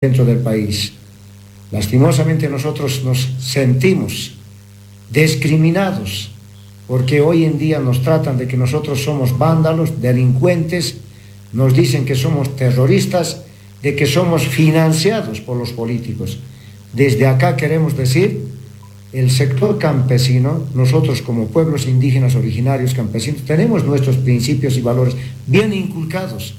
Centro del país. Lastimosamente nosotros nos sentimos discriminados porque hoy en día nos tratan de que nosotros somos vándalos, delincuentes, nos dicen que somos terroristas, de que somos financiados por los políticos. Desde acá queremos decir, el sector campesino, nosotros como pueblos indígenas originarios campesinos, tenemos nuestros principios y valores bien inculcados.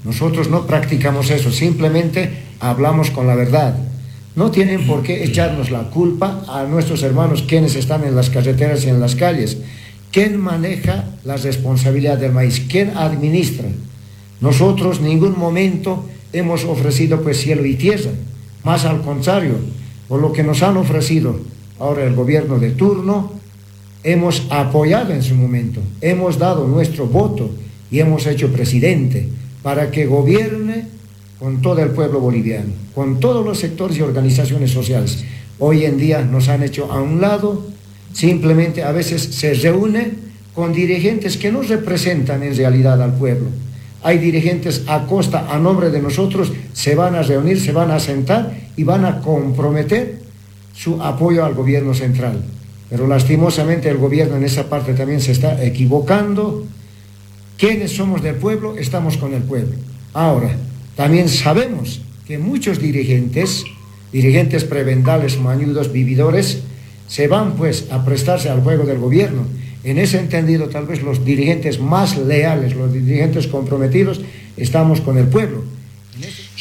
Nosotros no practicamos eso, simplemente hablamos con la verdad. No tienen por qué echarnos la culpa a nuestros hermanos quienes están en las carreteras y en las calles. ¿Quién maneja la responsabilidad del maíz? ¿Quién administra? Nosotros ningún momento hemos ofrecido pues cielo y tierra. Más al contrario, por lo que nos han ofrecido ahora el gobierno de turno, hemos apoyado en su momento, hemos dado nuestro voto y hemos hecho presidente para que gobierne con todo el pueblo boliviano, con todos los sectores y organizaciones sociales. Hoy en día nos han hecho a un lado, simplemente a veces se reúne con dirigentes que no representan en realidad al pueblo. Hay dirigentes a costa, a nombre de nosotros, se van a reunir, se van a sentar y van a comprometer su apoyo al gobierno central. Pero lastimosamente el gobierno en esa parte también se está equivocando. Quienes somos del pueblo, estamos con el pueblo. Ahora, también sabemos que muchos dirigentes, dirigentes prebendales, mañudos, vividores, se van pues a prestarse al juego del gobierno. En ese entendido, tal vez los dirigentes más leales, los dirigentes comprometidos, estamos con el pueblo.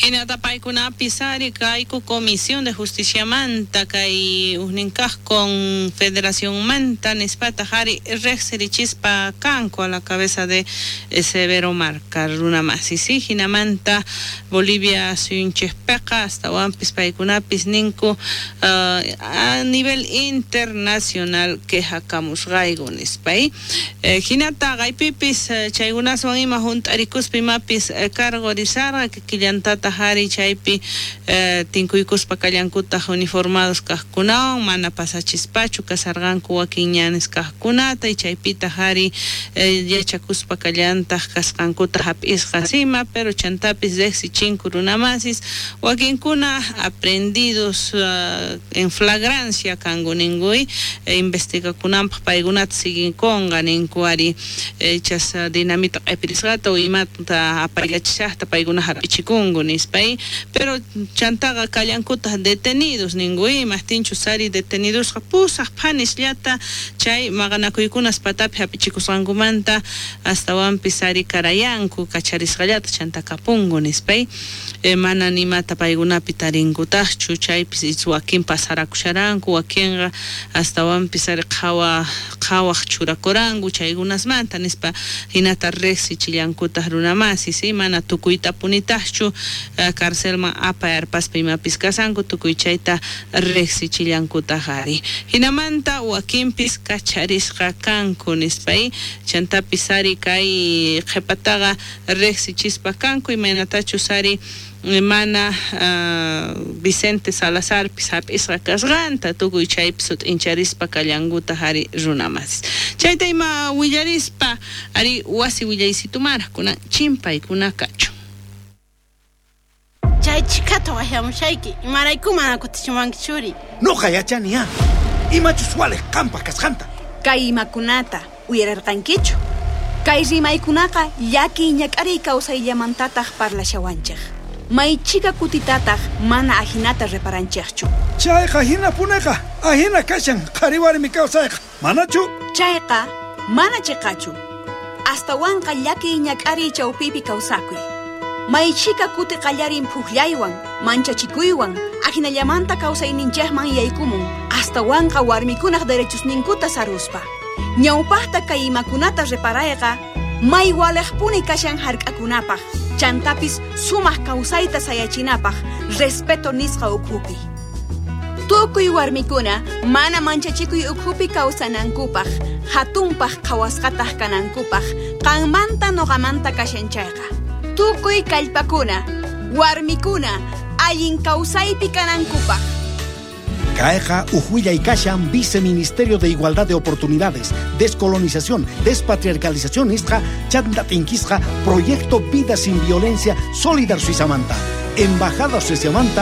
Hinata paykunapis ari kayku Comisión de Justicia manta kay ujninkaj con Federación manta nispataq ari rejsirichispa kanku a la cabeza de Severo Marca runa masi sí hinamanta Bolivia suyunchejpeqa astawanpis paykunapis ninku a nivel internacional quejakamusqayku nispay hinata qaypipis chaykunaswan ima hunt'arikuspa imapis cargorisarqa kikillantata ari chaypi tinkuykuspa kallankutaq uniformados kajkunawan mana pasachispachu kasarqanku wakin ñanes kajkunata y chaypitaq ari yachakuspa kallantaq kasqankuta hap'isqas ima pero chantapis riqsichinku runamasis wakinkuna aprendidos en flagrancia kanku ninkuy investigakunanpaq paykunata siguinkunqa ninku ari chas dinamita q'ipirisqata o imata apaykachishaqta paykuna hap'ichikunku nispay pero chantaqa kallankutaq detenidos ninkuy imajtinchus ari detenidosqa pusaq phanisllata chay maqanakuykunas patapi hap'ichikusqankumanta astawanpis ari karayanku kacharisqallata chanta kapunku nispay mana nimata paykunapi tarinkutaqchu chaypis wakin pasarakusharanku wakinqa astawanpis ari qhawaq churakuranku chaykunasmanta nispa hinata riqsichillankutaq runamasi sí mana tukuytapunitaqchu carcelman apayarpaspa imapis kasanku tukuy chayta riqsichillankutaq ari hinamanta wakinpis kacharisqa kanku nispay chantapis ari kay qhipataqa riqsichispa kanku imaynatachus ari mana Vicente Salazarpis hap'isqa kasqanta tukuy chaypi sut'incharispa kallankutaq ari runamasis chayta ima willarispa ari wasi willaysitumara kunan chimpaykuna kachun. Chay chikata waqyamushayki imarayku mana kutichiwanki churi. Noqa yachani ya imachus waliq qampaq kasqanta. Kay imakunata uyararqankichu. Kay rimaykunaqa llakiy ñak'ariy kawsayllamantataq parlashawanchik. Maychika kutitataq mana ajinata reparanchikchu. Chayqa hinapuneqa ajina kashan qhari warmi kawsayqa manachu? Chayqa mana chiqachu. Astawanqa llakiy ñak'ariy chawpipi kawsakuy. Maychika kuti qallarin phuqllaywan, manchachikuywan, ajinallamanta kawsayninchikman yaykumun, astawanqa warmikunaq derechosninkuta saruspa. Ñawpaqta kay imakunata reparayqa, may waliqpuni kashan hark'akunapaq, chantapis sumaq kawsayta sayachinapaq, respeto nisqa ukhupi. Tukuy warmikuna mana manchachikuy ukhupi kawsanankupaq, hatunpaq qhawasqataq kanankupaq, qanmanta noqamanta kashan chayqa. Tukuy kallpakuna, warmikuna, allin kawsaypi kanankupaq. Kayqa uj kashan Viceministerio de Igualdad de Oportunidades, Descolonización, Despatriarcalización nisqa chanta tinkisqa Proyecto Vida Sin Violencia Solidar Suizamanta. Embajada Sueciamanta.